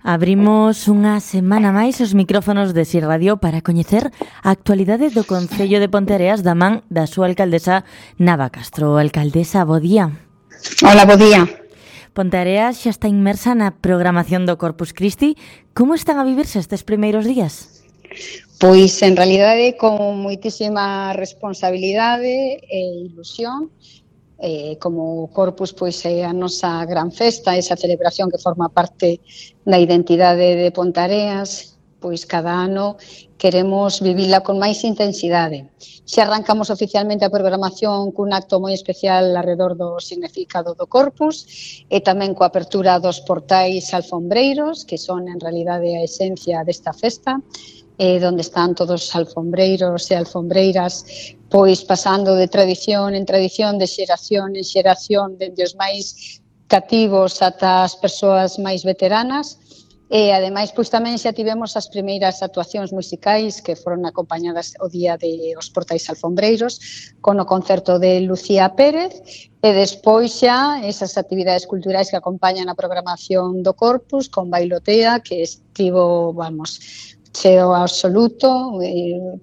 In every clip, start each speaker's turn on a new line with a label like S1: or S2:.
S1: Abrimos unha semana máis os micrófonos de SIR Radio para coñecer a actualidade do Concello de Ponteareas da man da súa alcaldesa Nava Castro. Alcaldesa, bo día.
S2: Hola, bo día.
S1: Ponteareas xa está inmersa na programación do Corpus Christi. Como están a vivirse estes primeiros días?
S2: Pois, en realidade, con moitísima responsabilidade e ilusión. Como Corpus, pois é a nosa gran festa, esa celebración que forma parte da identidade de Ponteareas, pois cada ano queremos vivila con máis intensidade. Xa arrancamos oficialmente a programación cun acto moi especial alrededor do significado do Corpus e tamén coa apertura dos portais alfombreiros, que son en realidade a esencia desta festa, donde están todos os alfombreiros e alfombreiras pois pasando de tradición en tradición, de xeración en xeración, dende os máis cativos ata as persoas máis veteranas. E, ademais, pois tamén xa tivemos as primeiras actuacións musicais que foron acompañadas o día de os portais alfombreiros con o concerto de Lucía Pérez e despois xa esas actividades culturais que acompañan a programación do Corpus con bailotea que estivo, cheo absoluto,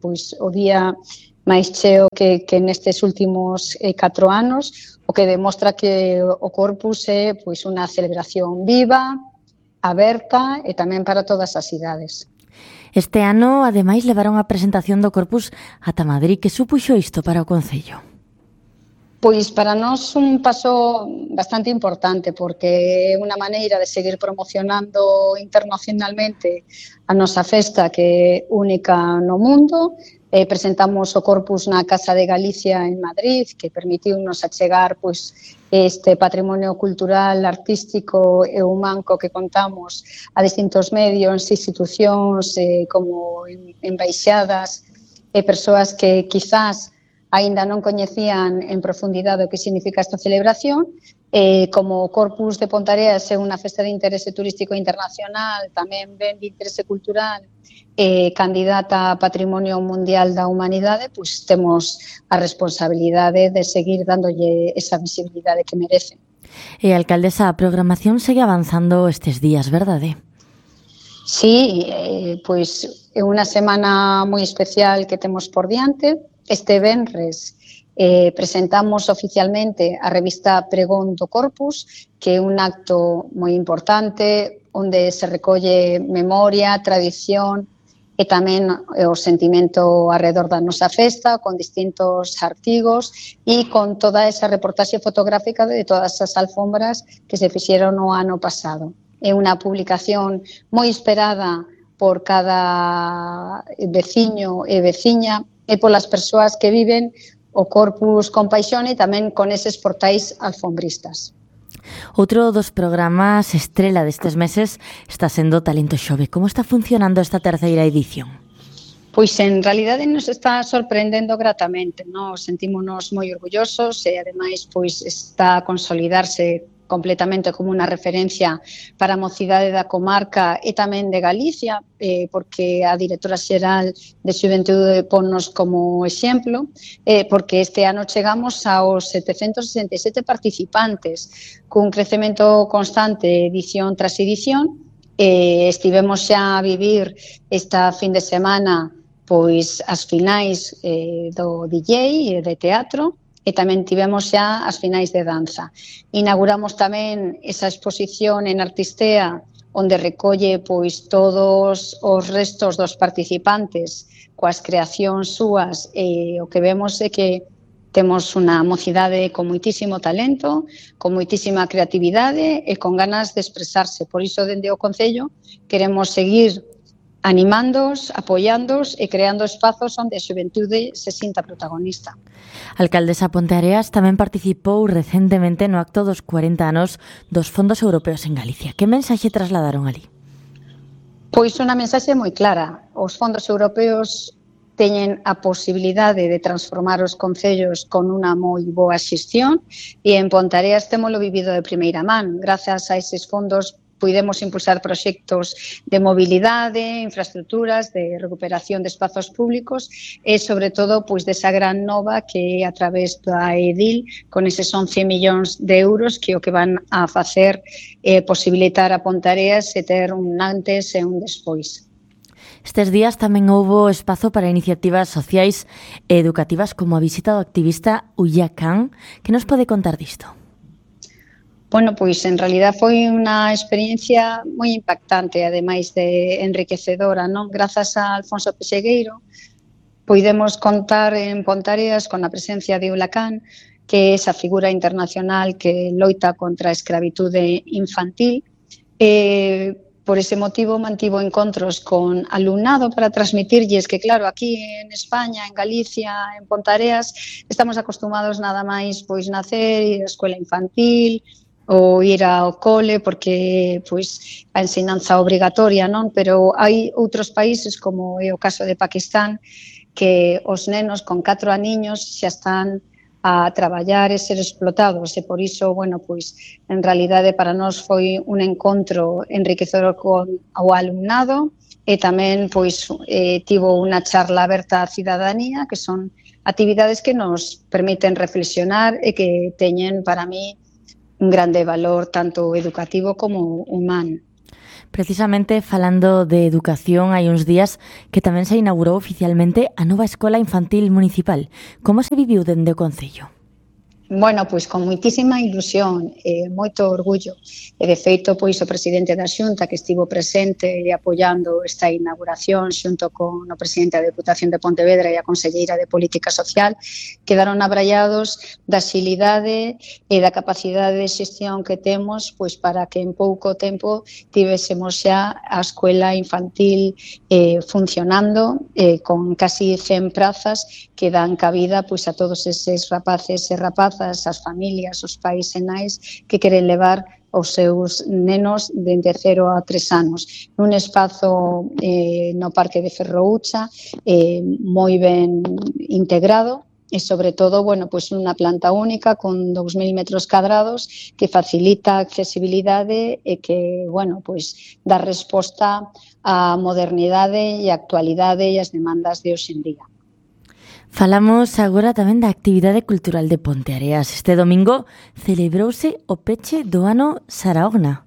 S2: pois o día máis cheo que nestes últimos 4 anos, o que demostra que o Corpus é pois unha celebración viva, aberta e tamén para todas as idades.
S1: Este ano, ademais, levaron a presentación do Corpus ata Madrid. Que supuxo isto para o Concello?
S2: Pois para nós un paso bastante importante porque é unha maneira de seguir promocionando internacionalmente a nosa festa que é única no mundo. Presentamos o Corpus na Casa de Galicia en Madrid, que permitiunos achegar pois este patrimonio cultural, artístico e humano que contamos a distintos medios, institucións como embaixadas e persoas que quizás aínda non coñecían en profundidade o que significa esta celebración. Como o Corpus de Ponteareas é unha festa de interese turístico internacional, tamén ben de interese cultural, candidata a Patrimonio Mundial da Humanidade, pois temos a responsabilidade de seguir dándolle esa visibilidade que merece.
S1: E, alcaldesa, a programación segue avanzando estes días, verdade?
S2: Sí, pois é unha semana moi especial que temos por diante. Este venres presentamos oficialmente a revista Pregón do Corpus, que é un acto moi importante onde se recolle memoria, tradición e tamén o sentimento alrededor da nosa festa, con distintos artigos e con toda esa reportaxe fotográfica de todas as alfombras que se fixeron no ano pasado. É unha publicación moi esperada por cada veciño e veciña e polas persoas que viven o Corpus con paixón e tamén con eses portais alfombristas.
S1: Outro dos programas estrela destes meses está sendo Talento Xove. Como está funcionando esta terceira edición?
S2: Pois en realidade nos está sorprendendo gratamente, nos sentímonos moi orgullosos e ademais pois está a consolidarse completamente como unha referencia para a mocidade da comarca e tamén de Galicia, porque a directora xeral de Xuventude ponnos como exemplo, porque este ano chegamos aos 767 participantes, cun crecemento constante edición tras edición. Estivemos xa a vivir esta fin de semana pois as finais do DJ e de teatro, e tamén tivemos xa as finais de danza. Inauguramos tamén esa exposición en Artistea, onde recolle pois todos os restos dos participantes coas creacións súas, e o que vemos é que temos unha mocidade con moitísimo talento, con moitísima creatividade e con ganas de expresarse. Por iso, dende o Concello, queremos seguir animándoos, apoiándoos e creando espazos onde a xuventude se sinta protagonista.
S1: Alcaldesa, Ponteareas tamén participou recentemente no acto dos 40 anos dos fondos europeos en Galicia. Que mensaxe trasladaron ali?
S2: Pois unha mensaxe moi clara. Os fondos europeos teñen a posibilidade de transformar os concellos con unha moi boa xestión e en Ponteareas témolo vivido de primeira man. Grazas a eses fondos puidemos impulsar proxectos de mobilidade, infraestructuras, de recuperación de espazos públicos e, sobre todo, pois desa gran nova que a través da EDIL, con eses 11 millóns de euros, que o que van a facer é posibilitar a Ponteareas e ter un antes e un despois.
S1: Estes días tamén houbo espazo para iniciativas sociais e educativas como a visita do activista Ulla Khan. Que nos pode contar disto?
S2: Bueno, pois en realidad foi unha experiencia moi impactante, ademais de enriquecedora, non? Grazas a Alfonso Pexegueiro, poidemos contar en Ponteareas con a presencia de Ulla Khan, que é esa figura internacional que loita contra a escravitude infantil. Por ese motivo mantivo encontros con alumnado para transmitirlles que, claro, aquí en España, en Galicia, en Ponteareas, estamos acostumados nada máis pois nacer, ir á escola infantil ou ir ao cole porque pois a ensinanza obrigatoria, non? Pero hai outros países, como é o caso de Pakistán, que os nenos con 4 aniños xa están a traballar e ser explotados, e por iso, bueno, pois, en realidade para nós foi un encontro enriquecedor con o alumnado e tamén, pois, tivo unha charla aberta á cidadanía, que son actividades que nos permiten reflexionar e que teñen, para mí, un grande valor tanto educativo como humano.
S1: Precisamente falando de educación, hai uns días que tamén se inaugurou oficialmente a nova Escola Infantil Municipal. Como se viviu dende o Concello?
S2: Bueno, pois con moitísima ilusión e moito orgullo. E de feito, pois o presidente da Xunta que estivo presente e apoiando esta inauguración xunto con o presidente da Deputación de Pontevedra e a conselleira de Política Social quedaron abrallados da xilidade e da capacidade de xestión que temos pois para que en pouco tempo tivésemos xa a escola infantil funcionando con casi 100 prazas que dan cabida pois a todos eses rapaces e rapazas, as familias, os pais e nais que queren levar os seus nenos dende 0 a 3 anos. Nun espazo no Parque de Ferroucha moi ben integrado e, sobre todo, bueno, pois unha planta única con 2.000 metros cadrados que facilita a accesibilidade e que, bueno, pois dá resposta á modernidade e á actualidade e ás demandas de hoxe en día.
S1: Falamos agora tamén da actividade cultural de Ponteareas. Este domingo celebrouse o peche do ano Sarahogna.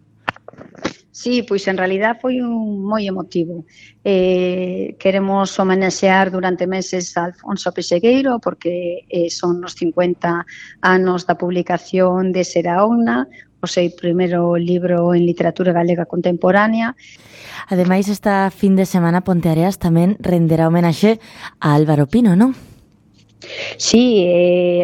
S2: Sí, pois en realidad foi moi emotivo. Queremos homenaxear durante meses a Alfonso Pexegueiro porque son os 50 anos da publicación de Sarahogna, o seu primeiro libro en literatura galega contemporánea.
S1: Ademais, esta fin de semana Ponteareas tamén renderá homenaxe a Álvaro Pino, non?
S2: Sí,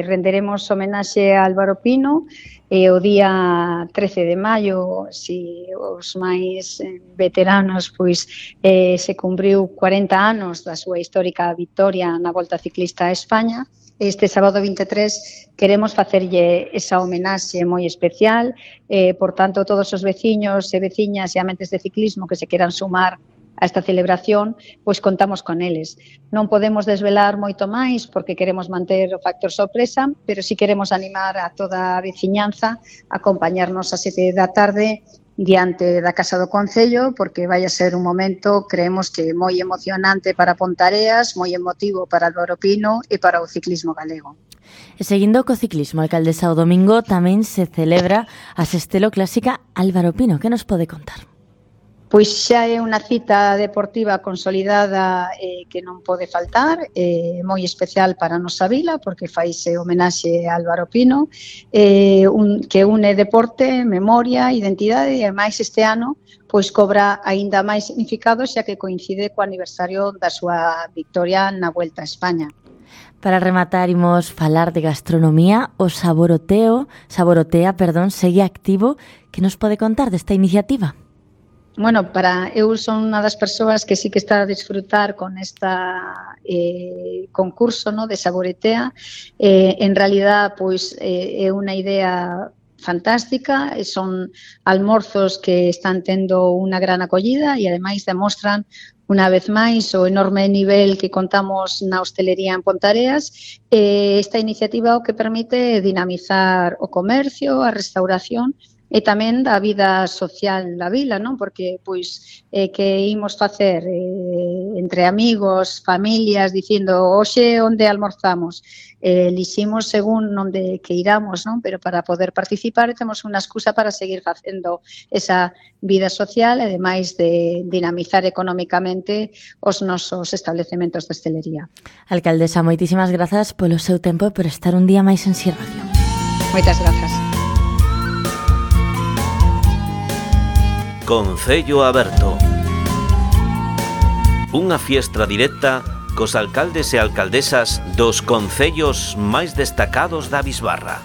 S2: renderemos homenaxe a Álvaro Pino o día 13 de maio, si os máis veteranos, pois se cumpriu 40 anos da súa histórica vitoria na Volta Ciclista a España. Este sábado 23 queremos facerlle esa homenaxe moi especial, por tanto, todos os veciños e veciñas e amantes de ciclismo que se queran sumar a esta celebración, pois contamos con eles. Non podemos desvelar moito máis porque queremos manter o factor sorpresa, pero si queremos animar a toda a veciñanza a acompañarnos a 7 da tarde diante da Casa do Concello, porque vai a ser un momento, creemos que moi emocionante para Ponteareas, moi emotivo para Álvaro Pino e para o ciclismo galego.
S1: E seguindo co ciclismo, a alcaldesa o domingo tamén se celebra a Sestelo Clásica Álvaro Pino. Que nos pode contar?
S2: Pois xa é unha cita deportiva consolidada que non pode faltar, moi especial para a nosa vila, porque faise homenaxe a Álvaro Pino, que une deporte, memoria, identidade, e máis este ano pois cobra aínda máis significado xa que coincide co aniversario da súa victoria na Vuelta a España.
S1: Para rematar, imos falar de gastronomía. O Saborotea, segue activo. Que nos pode contar desta iniciativa?
S2: Bueno, eu son unha das persoas que sí que está a disfrutar con esta concurso, no, de Saboretea. En realidad, pois é unha idea fantástica, son almorzos que están tendo unha gran acollida e ademais demostran unha vez máis o enorme nivel que contamos na hostelería en Ponteareas. Esta iniciativa o que permite dinamizar o comercio, a restauración e tamén da vida social da vila, non? Porque, pois, que imos facer entre amigos, familias, dicindo, hoxe onde almorzamos? Eliximos según onde que iramos, non? Pero para poder participar temos unha excusa para seguir facendo esa vida social e, ademais, de dinamizar económicamente os nosos establecementos de hostelería.
S1: Alcaldesa, moitísimas grazas polo seu tempo e por estar un día máis en Si Radio.
S2: Moitas grazas.
S3: Concello Aberto. Unha fiestra directa cos alcaldes e alcaldesas dos concellos máis destacados da Bisbarra.